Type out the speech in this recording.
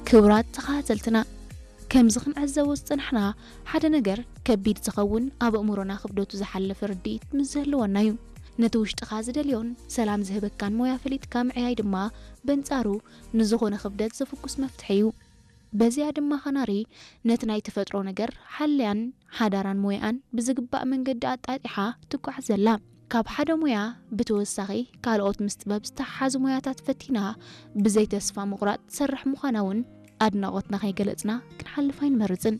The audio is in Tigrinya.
ክቡራት ተኸታተልትና፣ ከምዚ ክንዕዘቦ ዝጸናሕና፣ ሓደ ነገር ከቢድ ዝኸውን ኣብ ኣእምሮና ክብደቱ ዝሓለፈ ርድኢት ምስ ዝህልወና እዩ። ነቲ ውሽጥኻ ዝደልዮን ሰላም ዝህበካን ሞያ ፈሊጥካ ምዕያይ ድማ በንጻሩ ንዝኾነ ክብደት ዘፍኩስ መፍትሒ እዩ። በዚኣ ድማ ካናሪ ነቲ ናይ ተፈጥሮ ነገር ሓልያን ሓዳራን ሞያኣን ብዝግባእ መንገዲ ኣጣጢሓ ትጓዓዝ ዘላ። ካብ ሓደ ሞያ ብተወሳኺ ካልኦት ምስ ጥበብ ዝተሓሓዙ ሞያታት ፈቲና ብዘይ ተስፋ ምቑራጽ ትሰርሕ ምዃና እውን ኣድናቖትና ከይገለጽና ክንሓልፍ ኣይንመርጽን።